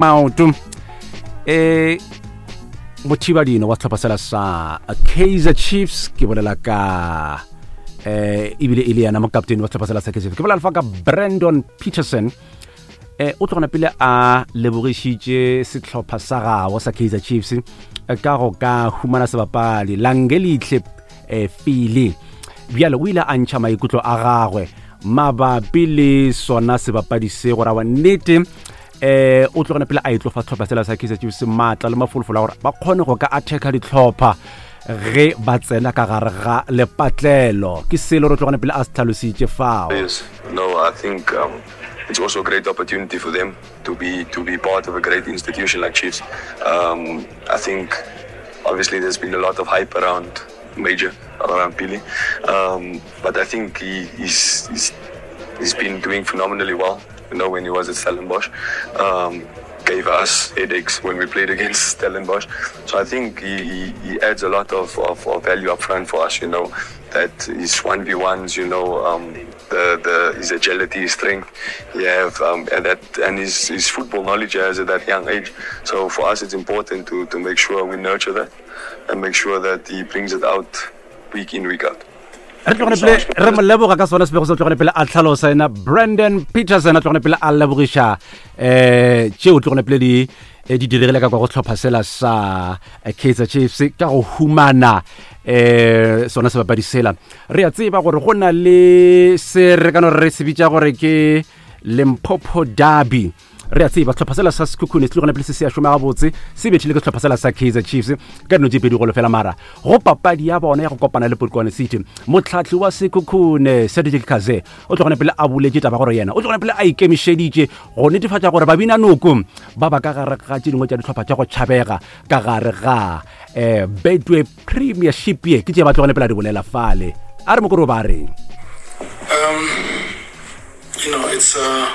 Maoto e mothibadino wa sehlopha sela sa Kaizer Chiefs ke bolela ka eh ebile e le yena mokaptene wa sehlopha sela sa Kaizer Chiefs ke bolela fa ka Brandon Peterson eh o tlogona pele a lebogišitše sehlopha sa gabo sa Kaizer Chiefs eh, ka go ka humana sebapadi Langelihle eh Fili bjale o ile a ntšha maikutlo a gagwe mabapi le sona sebapadi se go rawa nnete eh o tlogana pele a etlo fa sehlopha sela sa Kaizer Chiefs maatla le mafolofolo a gore ba kgone go ka attacker dihlopha ge ba tsena ka gare ga lepatlelo ke selo re tlogane pele a se tlhalositše fao. Yes, no, I think um, it's also a great opportunity for them to be to be part of a great institution like Chiefs. Um, I think obviously there's been a lot of hype around Major, around Billy, um, but I think he, he's, he's he's been doing phenomenally well. You know, when he was at Stellenbosch, um, gave us headaches when we played against Stellenbosch. So I think he, he, he adds a lot of, of, of value up front for us, you know, that his 1v1s, you know, um, the, the his agility, his strength, he have, um, and that and his, his football knowledge he has at that young age. So for us, it's important to, to make sure we nurture that and make sure that he brings it out week in, week out. Re tlogane pele re mo leboga ka sona sebego se tlogane pele a tlhalosa ena Brandon Peterson a tlogane pele a lebogiša um tšeo tlogane pele di eh, di diregile ka kwa go tlhopha sela sa eh, Kaizer Chiefs ka go humana eh sona sebapadi sela. Re a tseba gore go na le se re ka no re se bitša gore ke Limpopo Derby. Re a tseba sehlopha sela sa Sekhukhune se tlogana pele se se a šoma gabotse, se bethile ke sehlopha sela sa Kaizer Chiefs ka dino tše pedi golo fela. Mara go papadi ya bona ya go kopana le Polokwane City, motlhahli wa Sekhukhune Cedric Kaze o tlogana pele a boletše taba gore yena o tlogana pele a ikemišeditše go netefatša gore babinanoko ba ba ka gare ga tše dingwe tša dihlopha tša go tšhabega ka gare ga um Betway Premiership ye. Ke tše ba tlogane pele a di bolela fale, a re mokoro ba reng. Um, you know, it's uh,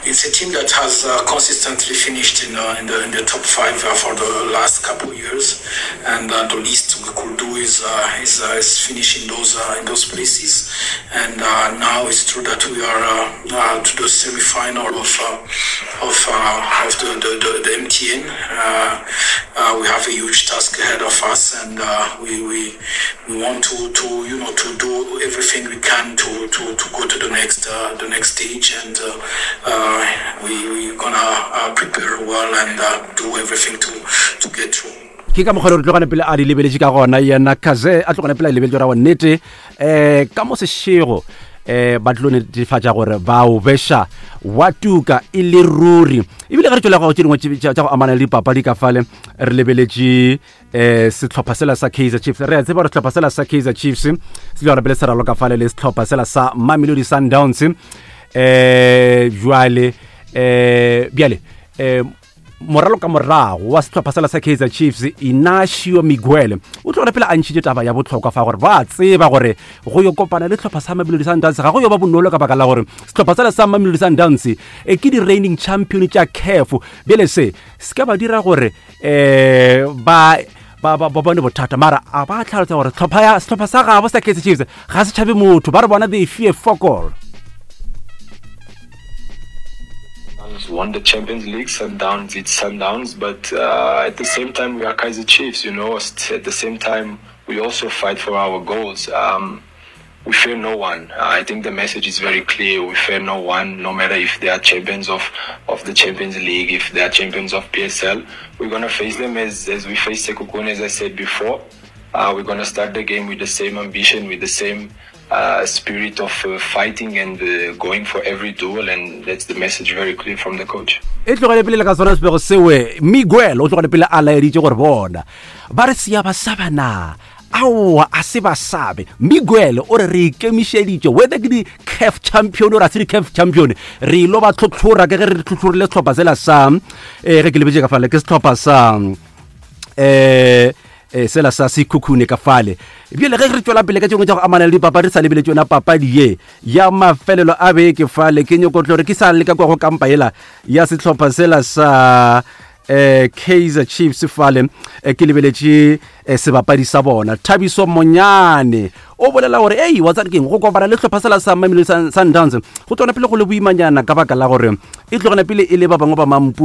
it's a team that has uh, consistently finished in, uh, in the in the top five uh, for the last couple of years, and uh, the least we could do is uh, is, uh, is finish in those uh, in those places. And uh, now it's true that we are uh, uh, to the semi-final of uh, of uh, of the the, the, the MTN. Uh, uh, we have a huge task ahead of us, and uh, we, we we want to, to you know to do everything we can to, to, to go to the next uh, the next stage, and uh, uh, we we're gonna uh, prepare well and uh, do everything to to get through. Ke ka mokgwa le re tlogane pele a di lebeletše ka gona yena Kaze a tlogane pele a di lebeletše ra nnete um ka mo sešego um ba tlo netefatša gore ba o beša wa tuka e le ruri. Ebile ge re tšwela go tše dingwe tša go amana le dipapadi ka fale re lebeletše eh sehlopha sela sa Kaizer Chiefs. Re a tseba gore sehlopha sela sa Kaizer Chiefs se le pele se raloka fale le sehlopha sela sa Mamelodi Sundowns. Eh jwale eh bjale eh moralo ka morago wa sehlopha sela sa Kaizer Chiefs Inacio Miguel o tlo pele a ntšhitše taba ya bohlokwa fa gore ba tseba gore go yo kopana le sehlopha sa Mamelodi Sundowns ga go yo ba bonolo ka baka la gore sehlopha sela sa Mamelodi Sundowns e ke di reigning champion tša CAF. Bjale se se ka ba dira gore eh ba ba ba bone bothata, mara a ba tlhalosa gore tlhopha ya sehlopha sa gabo sa Kaizer Chiefs ga se tšhabe motho, ba re bona they fear fokol. Won the Champions League, Sundowns, it's Sundowns, but uh, at the same time we are Kaizer Chiefs, you know. At the same time we also fight for our goals. Um, we fear no one. I think the message is very clear. We fear no one, no matter if they are champions of, of the Champions League, if they are champions of PSL. We're going to face them as, as we face Sekhukhune, as I said before. Uh, we're going to start the game with the same ambition, with the same uh, spirit of uh, fighting and uh, going for every duel, and that's the message very clear from the coach. E tlogele pele le ka sona sebego sewe Miguel o tlogele pele a laeditše gore bona ba re sia ba saba na aowa a se ba sabe. Miguel o re re ikemišeditše whether ke di-caf champion or a se di-caf champion re ilo ba tlhotlhora ke ge re tlhotlhorile sehlopha sela sa um ge ke lebetše ka fale ke sehlopha sa um sela sa Sekhukhune ka fale. Bjale ge re tšwela pele ka tšengwe tša go amana le dipapadi re sa lebeletse yona papadi ye ya mafelelo a beke fale, ke nyoko tlo re ke sa leka kwa go kampa yela ya sehlopha sela sa. eh Kaizer Chiefs fale eh, ke lebeletše eh, sebapadi sa bona Thabiso Monyane o bolela gore ei wa tsare keng go kopana le hlopha sela sa Mamelodi Sundowns go tlogana pele go le boimanyana ka baka la gore e tlogana pele e le ba bangwe ba mampudi.